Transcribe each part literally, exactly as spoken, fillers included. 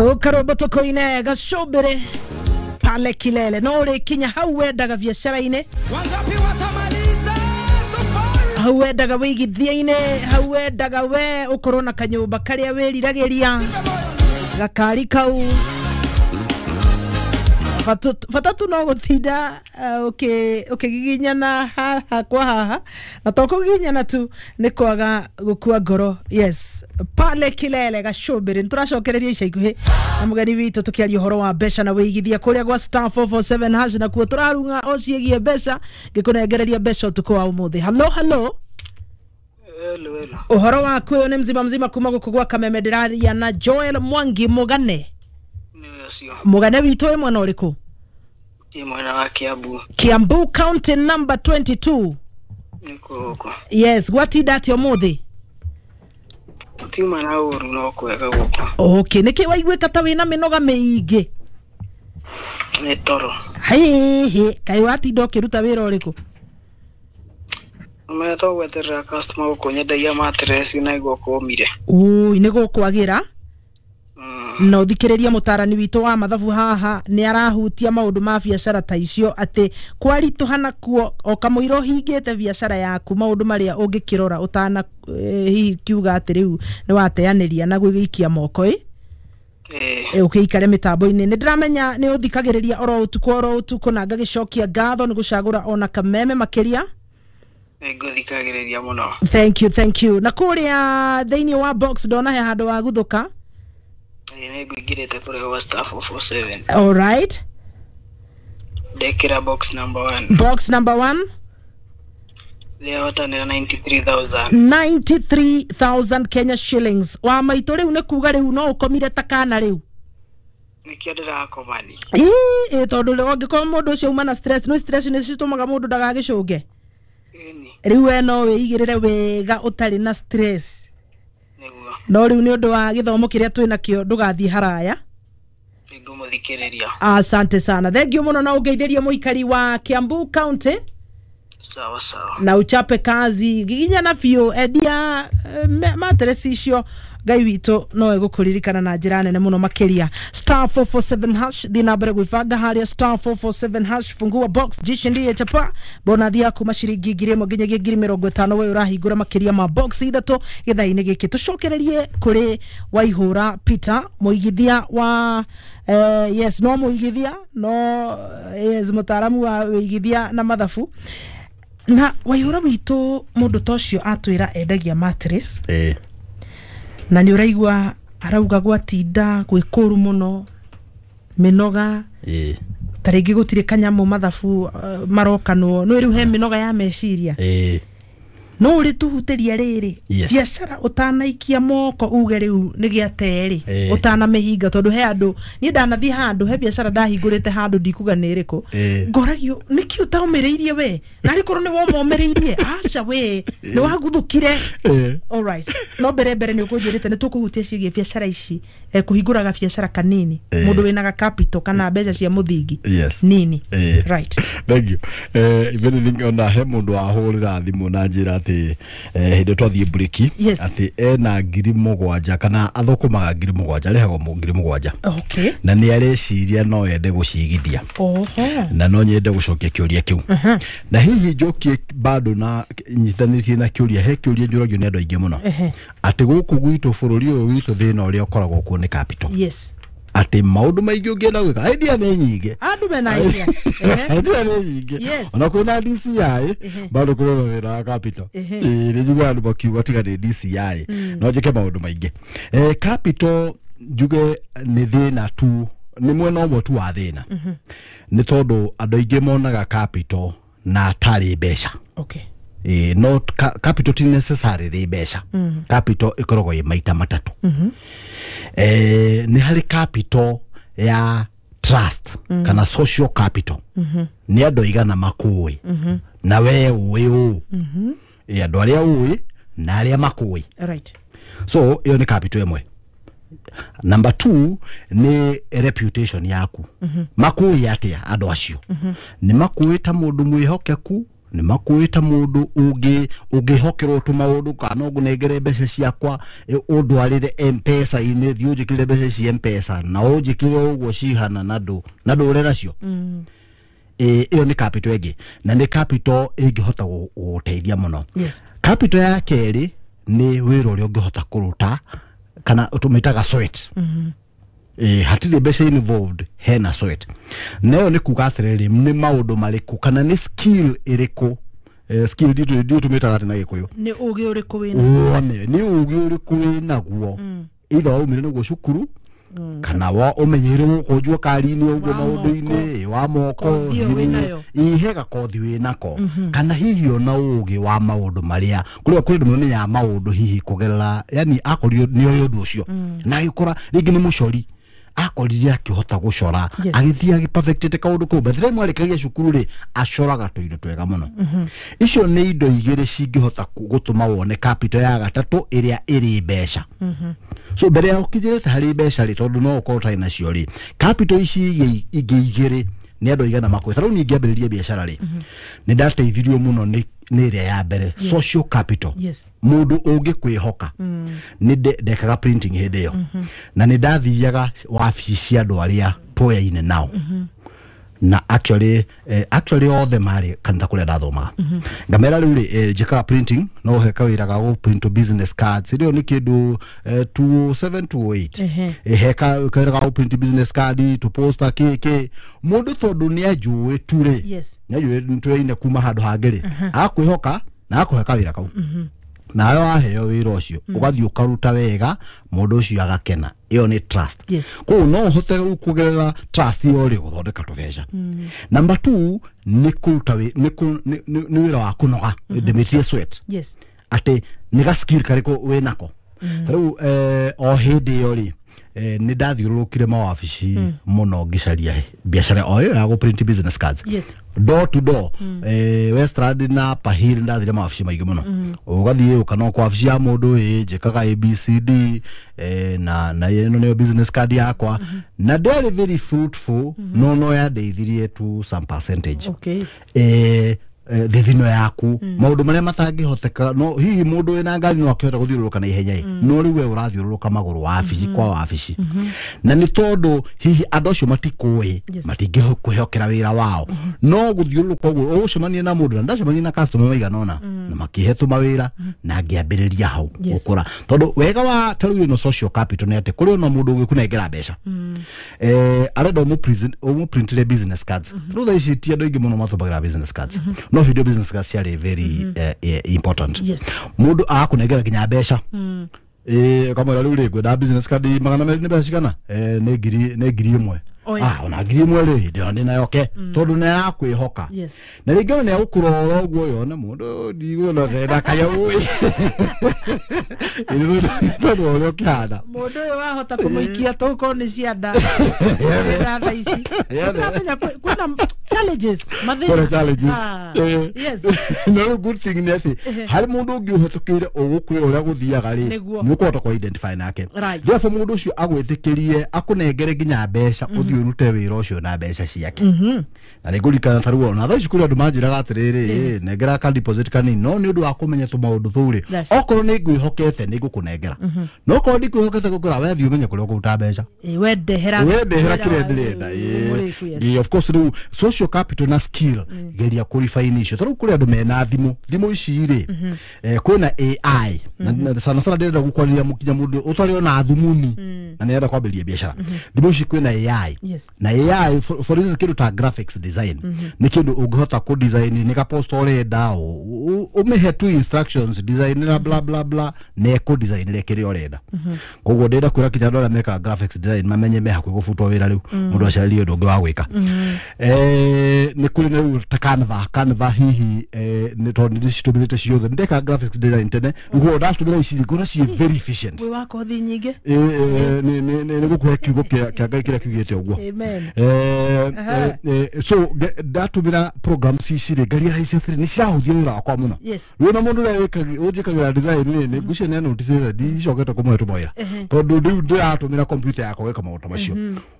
Karwimbo tukuine gacumbiri pale kilele no urikinya hau wendaga biacara-inĩ, Wangapi watamaliza safari? Hau wendaga wĩigithia-inĩ, hau wendaga we ũkorwo na kanyũmba karĩa wĩriragĩria, gakari kau. Bata tu no gũtinda ũkĩgiginyana haha kwa haha, na to kũgiginyana tu, nĩ kwaga gũkua ngoro. Yes, pale kilele gacumbĩrĩ. Nĩtũracokereria ica ikuhĩ na mũgeni witũ tũkĩaria ũhoro wa mbeca na wĩigithia kũrĩa gwa star four four seven hash, na kuo tũrarung'a o ciĩgiĩ mbeca, ngĩkũnengereria mbeca ũtukũ wa ũmũthĩ. Halo, halo. Hello, hello. Ũhoro waku? Ũyũ nĩ mzima mzima kuma gũkũ gwa Kameme. Ndĩraria na Joel Mwangi Mũgane? Nĩwe ũcio. Mũgane witũ, wĩ mwena ũrĩkũ? Ndĩ mwena wa Kiambu. Kiambu County number twenty-two. Nĩkuo gũkũ. Yes, gwatinda atĩa ũmũthĩ? Gũtiuma na ũru, no kwega gũkũ. Okay, nĩkĩ waiguĩka ta wĩna mĩnoga mĩingĩ? Nĩ toro. Hihi kaĩ watinda ũkĩruta wĩra ũrĩkũ? Ũmenya to gweterera customer gũkũ, nyendagia mattress na igua kũmire. Ui, nĩ gũkwagĩra. Mm. Na ũthikĩrĩrie mũtarani witũ wa mathabu haha, nĩ arahutia maũndũ ma biacara ta icio, atĩ kwaritũha nakuo o kamũira ũhingĩte biacara yaku, maũndũ marĩa ũngĩkĩrora ũtana eh, hihi kiuga atĩ rĩu nĩ wateanĩria na gwĩgĩikia moko ĩ. Ĩĩ. Ũkĩikare mĩtambo-inĩ. Nĩ ndĩramenya nĩ ũthikagĩrĩria oro ũtukũ oro ũtukũ, na ngagĩcokia ngatho nĩ gũcagũra ona Kameme makĩria. Nĩ ngũthikagĩrĩria mũno. Thank you, thank you. Na kũrĩa thĩinĩ wa box ndona he handũ wa guthũka. Ĩĩ, nĩ ngũingĩrĩte kũrĩa gwa star four four seven. All right. Ndekĩra box number one. Box number one. Ndĩhotanĩra ninety-three thousand. ninety-three thousand Kenya shillings wa maitũ. Rĩu nĩ kuga rĩu no ũkomire ta kana rĩu? Nĩkĩo ndĩrakomani. Ĩ, tondũ rĩu angĩkorwo mũndũ ũcio uma na stress, no stress nĩ citũmaga mũndũ ndagagĩcũnge. Ĩni. Rĩu we no wĩigĩrĩre wega ũtarĩ na stress. Nĩguo. No rĩu nĩ ũndũ wa gĩthomo kĩrĩa twĩ nakĩo, ndũgathiĩ haraya. Nĩngũmũthikĩrĩria. Asante sana, thank you mũno, na ũngeithĩrie mũikari wa Kiambu County. Sawa sawa. Na uchape kazi, giginyana biũ, endia eh, mattress icio. Ngai witũ no egũkũririkana na njĩra nene mũno makĩria. Star four four seven hash, thiĩ na mbere gwĩbanga harĩa star four four seven hash, fungua box, jishindie chapa bonathi yaku maciringi ngiri ĩmwe nginyagia ngiri mĩrongo ĩtano. We ũrahingũra makĩria ma box ithatũ gĩthaa-inĩ gĩkĩ. Tũcokererie kũrĩ Waihũra Peter, mũigithia wa eh, yes, no mũigithia, no yes, mũtaaramu wa wĩigithia na mathabu. Na Waihũra witũ, mũndũ ta ũcio atwĩra endagia mattress ĩĩ na nĩ ũraigua arauga gwatinda gwĩ kũru mũno, mĩnoga, ĩĩ ta rĩngĩ gũtirĩ kanyamũ mathabu uh, marokanwo no rĩu he mĩnoga ya meciria. Ĩĩ no ũrĩ tũhutĩria rĩrĩ Yes. biacara ũtanaikia moko uge rĩu nĩ gĩaterĩ, Ĩĩ. ũtanamĩhinga, tondũ he andũ, niĩ ndanathiĩ handũ he biacara ndahingũrĩte handũ, ndikuga nĩ ĩrĩkũ, Ĩĩ. ngoragio nĩkĩ ũtaũmĩrĩirie we, narĩ korwo nĩ womomĩrĩirie, aca we nĩ waguthũkire. Ĩĩ. Alright, no mbere mbere nĩ ũkũnjĩrĩte nĩ tũkũhutia ciĩgiĩ biacara ici, eh, kũhingũraga biacara kanini, Ĩĩ. mũndũ wĩna ga capital kana mbeca cia mũthingi Yes. nini. Ĩĩ. Right. Thank you. eh if anything, ona he mundu wahũrĩra thimũ na njĩra atĩ eh, hĩndĩ twathiĩ mburĩki Yes. atĩ ena ngiri mũgwanja kana athũkũmaga ngiri mũgwanja, arĩhagwo mũ- ngiri mũgwanja okay na nĩ areciria no ende gũcigithia. Oho. Na no nyende gũcokia kĩũria kĩu, na hihi njokie bado na nyitanĩtie na kĩũria, he kĩũria njũragio nĩ andũ aingĩ mũno Ehe. atĩ gũkũ gwitũ, bũrũri ũyũ witũ, thĩna ũrĩa ũkoragwo kuo nĩ capital, yes atĩ maũndũ maingĩ ũngĩenda gwĩka, idea nĩ nyingĩ. Andũ mena idea. Ehe. Idea nĩ nyingĩ. Yes. Ona kwĩna D C I, bado kũrĩ na wĩra wa capital. Ehe. Ĩĩ, nĩ njiguaga andũ makiuga tiga nĩ D C I no njĩke maũndũ maingĩ. Eh, capital njuge nĩ thĩna tu, nĩ mwena ũmwe tu wa thĩna, nĩ tondũ andũ aingĩ monaga capital na atarĩ mbeca. Okay Ĩĩ, no ca- capital ti necessarily mbeca. Capital ĩkoragwo ĩ maita matatũ. eh, nĩ harĩ capital ya trust kana social capital, nĩ andũ aigana makũĩ na we ũĩ ũũ. Ĩ, andũ arĩa ũĩ na arĩa makũĩ. Right so ĩyo nĩ capital ĩmwe. Number two nĩ reputation yaku. Makũĩ atĩa andũ acio? Nĩ makũĩ ta mũndũ mwĩhokeku. Nĩ makũĩ ta mũndũ ũngĩ ũngĩhokerwo tũmaũndũ kana no ngũnengere mbeca ciakwa ũndwarĩre M-Pesa-inĩ, thiĩ ũnjĩkĩrĩre mbeca cia M-Pesa na ũnjĩkĩre ũguo cihana na ndũ na ndũre nacio. Ĩyo nĩ capital ĩngĩ na nĩ capital ĩngĩhota gũgũteithia mũno. Yes. Capital ya kerĩ nĩ wĩra ũrĩa ũngĩhota kũruta kana tũmĩtaga sweat. Eh, hatirĩ mbeca involved, hena sweat. Nayo nĩ kuga atĩrĩrĩ, nĩ maũndũ marĩkũ kana nĩ skill ĩrĩkũ, eh, skill nditũ nditũ tũmĩtaga atĩ na Gĩkũyũ nĩ ũgĩ ũrĩkũ wĩna wone nĩ ũgĩ ũrĩkũ wĩnaguo, either waumire naguo cukuru kana wa ũmenyeire gũkũ njua kari-inĩ ũguo maũndũ-inĩ wa moko, ihe gakothi wĩnako, kana hihi ona ũgĩ wa maũndũ marĩa kũrĩa kũrĩ andũ mamenyaga maũndũ hihi kũgerera, yani akorirwo nĩ oĩ ũndũ ũcio na agĩkora rĩngĩ nĩ mũcori, akorire akĩhota gũcora agĩthiĩ agĩperfectĩte kaũndũ kau, by the time arĩkagia cukuru rĩ acoraga tũindo twega mũno. Icio nĩ indo igĩrĩ cingĩhota gũtũma wone capital ya gatatũ ĩrĩa ĩrĩ mbeca. So mbere ya ũkinyĩrĩte harĩ mbeca rĩ, tondũ no ũkorwo ũtarĩ nacio rĩ, capital ici ingĩ igĩrĩ nĩ andũ aigana makũĩ. Ta rĩu niĩ ngĩambĩrĩria biacara rĩ, nĩ ndateithirio mũno nĩ nĩ ĩrĩa ya mbere, social capital. Mũndũ ũngĩkwĩhoka. Nĩ ndekaga printing hĩndĩ ĩyo na nĩ ndathiaga wabici cia andũ arĩa twoyaine nao, na actually eh, actually othe marĩ kanitha kũrĩa ndathomaga. Ngamera rĩu rĩ, eh, njĩkaga printing no he kawĩra ga gũ print business cards, ĩrĩo nĩ kĩndũ eh, two oh seven two oh eight, he kawĩra ga gũ print business card to poster kĩ kĩ mũndũ tondũ nĩ anjũĩ tu rĩ, nĩ anjũĩ twoyaine kuma handũ hangĩ rĩ, akwĩhoka na akũhe kawĩra kau, nawe waheo wĩra ũcio ũgathiĩ ũkaruta wega, mũndũ ũcio agakena. Ĩyo nĩ trust. Koguo no ũhote rĩu kũgerera trust ĩyo rĩ gũthondeka tũbeca. Number two nĩ kũruta nĩ wĩra wa kũnoga, ndĩmĩtie sweat. Atĩ nĩ ga skill karĩkũ wĩnako. Ta rĩu o hĩndĩ ĩyo rĩ, nĩ ndathiũrũrũkire mawabici mũno ngĩcaria biacara o ĩyo ya gũ print business cards. Door to door, eh, Westland na Pahil ndathire mawabici maingĩ mũno. Ũgathiĩ ũkana kwa wabici ya mũndũ, ĩ njĩkaga A B C D, eh, na na ĩno nĩyo business card yakwa, na ndĩarĩ very fruitful, no no yandeithirie to some percentage. Okay. Eh, thithino yaku maũndũ marĩa matangĩhoteka, no hihi mũndũ wĩna ngari no akĩhota gũthiũrũrũka na ihenya ĩ, no rĩu we ũrathiũrũrũka magũrũ wabici kwa wabici, na nĩ tondũ hihi andũ acio matikũĩ, matingĩkwĩhokera wĩra wao, no gũthiũrũrũka ũguo ũgũcemania na mũndũ, na ndacemania na customer maigana ũna na makĩhe tũmawĩra na ngĩambĩrĩria hau gũkũra. Tondũ wega wa ta rĩu ĩno social capital nĩ atĩ kũrĩ ona mũndũ ũgĩkũnengera mbeca, eh, arenda ũmũprintĩre business cards. Rĩu thaa ici ti andũ aingĩ mũno matũmagĩra business cards, no video business cards ciarĩ very uh, important. Mũndũ agakũnengera nginya mbeca, eh, ũkamwĩra rĩu rĩ ngwenda business card magana merĩ nĩ mbeca cigana, eh, nĩ ngiri nĩ ngiri ĩmwe, ah, ona ngiri ĩmwe rĩ ndĩrona ndĩ nayo ke, tondũ nĩ arakwĩhoka. Na rĩngĩ ona nĩ agũkũrora ũguo yone mũndũ ndigũona ndenda kanyamũ tondũ ũrĩa ũkĩhana mũndũ ũyũ wahota kũmũikia tũkorwo nĩ cianda thaa ici. Ũramenya kwĩna challenges, mathĩna. Kwĩna challenges. Yes. No good thing nĩ atĩ harĩ mũndũ ũngĩ ũhetũkĩire ũgũkwĩra ũrĩa gũthiaga rĩ, nĩ ũkũhota kũ identify nake. Therefore mũndũ ũcio agwĩtĩkĩrie akũnengere nginya mbeca ũthiĩ ũrute wĩra ũcio na mbeca ciake. Na nĩ ngũririkana ta rĩu ona thaa ici kũrĩ andũ manjĩraga atĩrĩrĩ, nengera ka deposit kanini, no nĩ ũndũ wa kũmenya tũmaũndũ tũu rĩ, okorwo nĩ ngwĩhokete nĩ ngũkũnengera, no okorwo ndikwĩhokete ngũkwĩra we thiĩ ũmenye kũrĩa ũkũruta mbeca, we ndehera we ndehera kĩrĩa ndĩrenda. Of course rĩu social capital na skill geria kũrefine icio. Ta rĩu kũrĩ andũ mena thimũ, thimũ ici rĩ, kwĩna A I, na sana sana ndĩrenda gũkwarĩria mũkinya mũndũ ũtarĩ ona thumuni na nĩarenda kwambĩrĩria biacara. Thimũ ici kwĩna A I, na A I for, for instance kĩndũ ta graphics design nĩ kĩndũ ũngĩhota kũ design nĩ ka post ũrenda, ũmĩhe tu instructions design na bla bla bla na ĩkũ design rĩ kĩrĩa ũrenda. Koguo ndĩrenda kwĩra kinya andũ arĩa mekaga graphics design mamenye me hakuhĩ gũbutwo wĩra rĩu, mũndũ acarĩrie ũndũ ũngĩ wa gwĩka. Eh, nĩ kũrĩ na rĩu ta Canva, Canva hihi eh, nĩ tondũ nĩ ndĩcitũmĩrĩte ciothe, nĩ ndekaga graphics design tene, rĩu ndacitũmĩra ici ngona ciĩ very efficient. Wĩ wa kothi nyingĩ? Nĩ gũkũhe kiugo kĩa Ngai kĩrĩa kiugĩte ũguo. Amen. Eh, eh, so ndatumira programs ici rĩ ngarealize atĩrĩ nĩ cirahũthia wĩra wakwa mũno. Wĩna mũndũ ũrĩa ũnjĩkagĩra design rĩ, nĩ ngwĩciria nĩ anotice ndicokete kũmũhe tũmawĩra tondũ rĩu ndĩratũmĩra computer yakwa gwĩka maũndũ macio.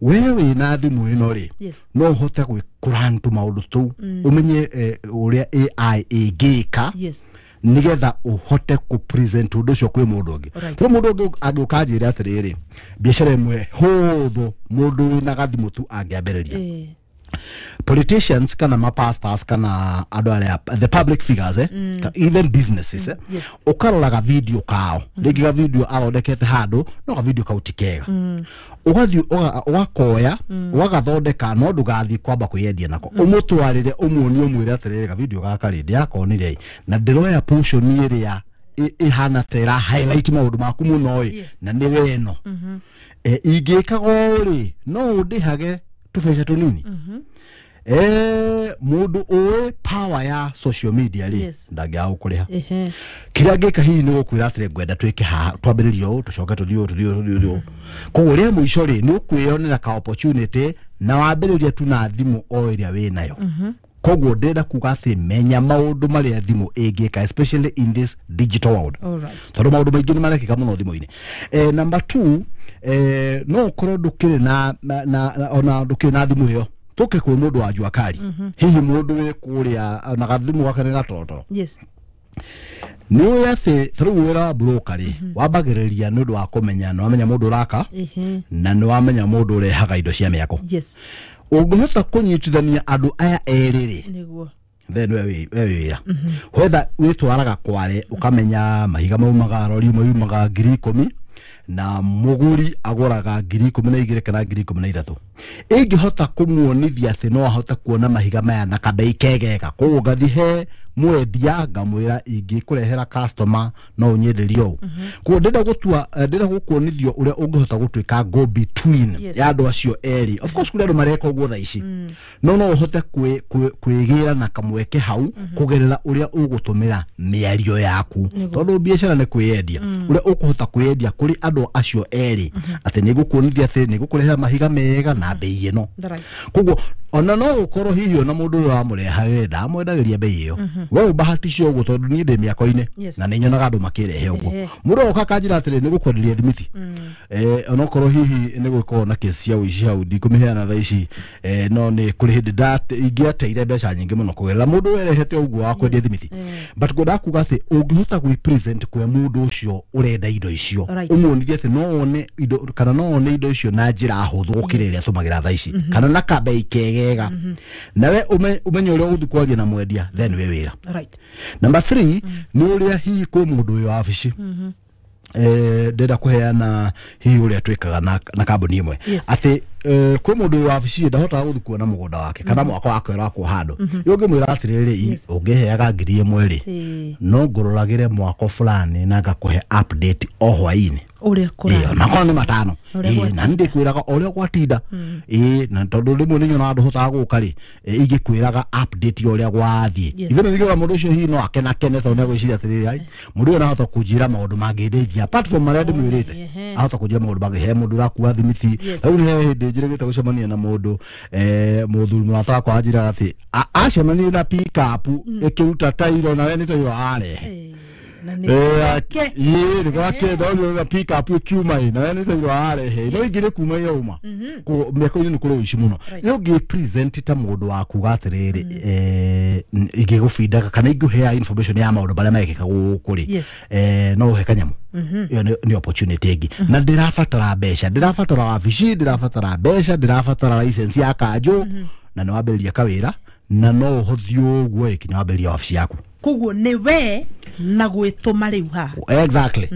We wĩna thimũ ĩno rĩ, no ũhote kũ kũran tũmaũndũ tũu, ũmenye eh, ũrĩa A I ĩngĩka Yes. nigetha ũhote kũ present ũndũ ũcio kwĩ mũndũ ũngĩ. Alright. Tondũ mũndũ ũngĩ angĩũka anjĩre atĩrĩrĩ, biacara ĩmwe hũthũ mũndũ wĩna gathimũ tu angĩambĩrĩria, Eh. politicians kana mapastors kana andũ arĩa the public figures, eh? mm. even businesses, eh? Yes. Ũkarora ga video kao, rĩngĩ ga video athondekete handũ, no ga video kau ti kega, ũgathiĩ ũga- ũgakoya ũgagathondeka, no ndũgathiĩ kwamba kwĩyendia nako, ũmũtwarĩre, ũmuonie, ũmwĩre atĩrĩrĩ, ga video gaka rĩ, ndĩrakonire ĩ, na ndĩroya portion ĩrĩa ĩ- ĩhana ta ĩra highlight maũndũ maku mũno ĩ, Yes. na nĩ weno e, ingĩkaga ũũ rĩ, no ũndĩhage tũbeca tũnini. Eh, mũndũ ũĩ power ya social media rĩ, Yes. ndangĩaga gũkũrĩha. Ehe. Kĩrĩa ngĩka hihi nĩ gũkwĩra atĩrĩ, ngwenda twĩke haha, twambĩrĩrie ũũ, tũcoke tũthiĩ ũũ, tũthiĩ ũũ, tũthiĩ ũũ. Koguo rĩa mũico rĩ, nĩ ũkwĩyonera ka opportunity na wambĩrĩria tu na thimũ o ĩrĩa wĩ nayo. Koguo ndĩrenda kuga atĩ menya maũndũ marĩa thimũ ĩngĩka, especially in this digital world, Alright. tondũ maũndũ maingĩ nĩ marekĩka mũno thimũ-inĩ. eh, number two, eh, no ũkorwo ndũkĩrĩ na, na, na, na ona ndũkĩrĩ na thimũ ĩyo, tũke kwĩ mũndũ wa jua kari, hihi mũndũ wĩ kũrĩa na gathimũ gake nĩ gatorotoro. Yes. Nĩ ũĩ atĩ ta rĩu wĩra wa broker rĩ, wambagĩrĩria nĩ ũndũ wa kũmenya, nĩ wamenya mũndũ ũraka Ehe. na nĩ wamenya mũndũ ũrehaga indo cia mĩako. Yes. Ũngĩhota kũnyitithania andũ aya erĩ rĩ, Nĩguo. then we wĩ we wĩ wĩra whether wĩtwaraga kware ũkamenya mahiga maumaga rori ĩmwe yumaga ngiri ikũmi na mũgũri agũraga ngiri ikũmi na igĩrĩ kana ngiri ikũmi na ithatũ, ingĩhota kũmuonithia atĩ no ahote kuona mahiga maya na kambei kegega, koguo ngathi he mwendia ngamwĩra ingĩkũrehera customer no ũnyenderie ũũ. Koguo ndĩrenda gũtua eh, ndĩrenda gũkuonithio ũrĩa ũngĩhota gũtuĩka go between Yes. ya andũ acio erĩ. Of course kũrĩ andũ mareka ũguo thaa ici, no no ũhote kwĩ- kwĩ- kwĩgĩra na kamweke hau kũgerera ũrĩa ũgũtũmĩra mĩario yaku, tondũ biacara nĩ kwĩyendia, ũrĩa ũkũhota kwĩyendia kũrĩ andũ acio erĩ atĩ nĩ ngũkuonithia atĩ nĩ ngũkũrehera mahiga mega na mbei ĩno. Right. Koguo ona no ũkorwo hihi ona mũndũ ũrĩa wamũrehagĩra ndamwendagĩria mbei ĩyo, we ũbahatishe ũguo, tondũ niĩ ndĩ mĩako-inĩ Yes. na nĩ nyonaga andũ makĩrehe ũguo. Ehe. Mũndũ oka akanjĩra atĩrĩ, nĩ gũkwenderia thimiti, eh, onokorwo hihi nĩ gũkorwo na kesi cia ũici hau ndikũmĩheana thaa ici, eh, no nĩ kũrĩ hĩndĩ ndate- ingĩateire mbeca nyingĩ mũno kũgerera mũndũ werehete ũguo wa kwendia thimiti. But ngwendaga kuga atĩ ũngĩhota gwĩ present kwĩ mũndũ ũcio ũrenda indo icio, Right. ũmuonithie atĩ no one indo kana no one indo icio na njĩra hũthũ gũkĩra ĩrĩa tũmagĩra thaa ici kana na kambei kegega, nawe ũme- ũmenye ũrĩa ũgũthiĩ kwaria na mwendia, then wĩ wĩra. Right. Number three, nĩ ũrĩa hihi kwĩ mũndũ wĩ wabici, eh, ndĩrenda kũheana hihi ũrĩa twĩkaga na, na kambuni ĩmwe, Yes. atĩ eh, kwĩ mũndũ wĩ wabici ndahotaga gũthiĩ kuona mũgũnda wake kana mwako wake ũrakwo handũ. Ĩ ũngĩmwĩra atĩrĩrĩ, Yes. ũngĩheaga ngiri ĩmwe rĩ, Ĩĩ. no ngũroragĩre mwako fulani na ngakũhe update o hwaĩ-inĩ. Ũrĩa Ĩĩ, kũrathiĩ. ona korwo nĩ matano. Ũrĩa Ĩĩ, gwatinda. na nĩ ndĩkwĩraga o ũrĩa gwatinda. Ĩĩ, na tondũ rĩmwe nĩ nyonaga ndũhotaga gũka rĩ, ĩ, ingĩkwĩraga update ya ũrĩa gwathiĩ. Yes. Even ningĩona mũndũ ũcio hihi no akenakene tondũ nĩ agwĩciria atĩrĩrĩ, ai, mũndũ ũyũ nahota kũnjĩra maũndũ mangĩndeithia apart from marĩa ndĩmwĩrĩte. Ehe. Ahota kũnjĩra maũndũ mangĩ, he mũndũ ũrakua thimiti. Yes. Rĩu nĩ he hĩndĩ njĩrĩgĩte gũcemania na mũndũ, eh, mũthuri mũrata wakwa anjĩraga atĩ a- acemanirie na pickup ĩkĩruta tairo, nawe nĩ tairo arehe. Eh, na nĩ Eh, ĩĩ nĩ gwake ndonire pick up ĩkiuma ĩ nawe nĩ tairo arehe, no ingĩ nĩ kuma yauma. Koguo mĩako-inĩ nĩ kũrĩ ũici mũno. Nĩ ũngĩ present ta mũndũ wa kuga atĩrĩrĩ, eh, ingĩgũbindaga kana ingĩhea information ya maũndũ marĩa marekĩka gũkũ rĩ, Yes. eh, no ũhe kanyamũ. Ĩyo nĩ- nĩ opportunity ĩngĩ, na ndĩrabatara mbeca, ndĩrabatara wabici, ndĩrabatara mbeca, ndĩrabatara license ya kanjũ, na nĩ wambĩrĩria kawĩra na no ũhothiĩ ũguo ĩ kinya wambĩrĩria wabici yaku. Koguo nĩ we na gwĩtũma rĩu haha. Exactly.